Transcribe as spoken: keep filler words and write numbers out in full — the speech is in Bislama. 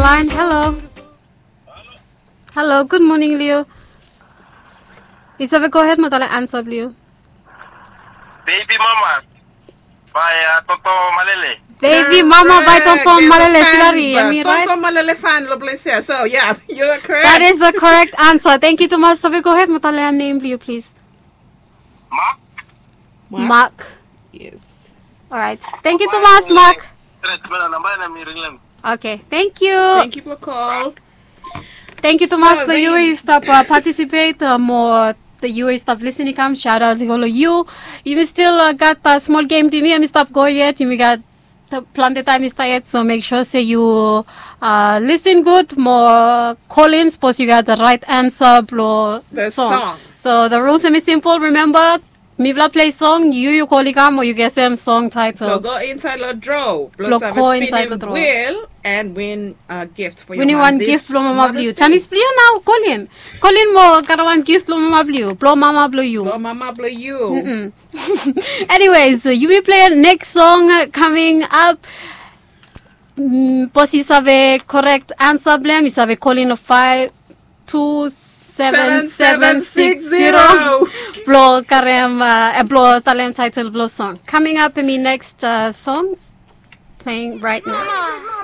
Fine, hello. Hello, good morning, Leo. Yu save go ahead mo talem ansa blong yu. Baby mama by uh, Toto Malele. Baby mama by Toto Malele, Silari, am I right? Toto Malele fan lo place here. So yeah, you're correct. That is the correct answer. Thank you, Thomas. Save go ahead mo talem name blong yu, please. Mark. Mark. Yes. All right. Thank you, Thomas, Mark. Okay, thank you. Thank you for call. Thank you, Thomas. So lo yu we yu stap uh, participate uh, mo the yu we yu stap listening kam shout out go lo yu. Yumi still uh, gat uh, small game to me. Yumi stap go yet. Yumi gat uh, planti time i start yet. So make sure say you uh, listen good mo call in. Suppose you got the right answer blo the song. So the rules are simple. Remember, mifala play song, yu yu kol i kam o yu gesem song title. Go inside lo draw. Blo save go inside lo draw. Wheel and win a gift for your mom. Winning one gift blo mama blo yu. Chanis blo yu nao, kol in. Kol in mo gat wan gift blo mama blo yu. Blo mama blo yu. Blo mama blo yu. Anyways, uh, yumi play next song uh, coming up. Mm, bos yu save correct answer blong hem, yu save call in a five two seven seven six zero. Blo karem uh, blo talem title blo song. Coming up in my next uh, song playing right now.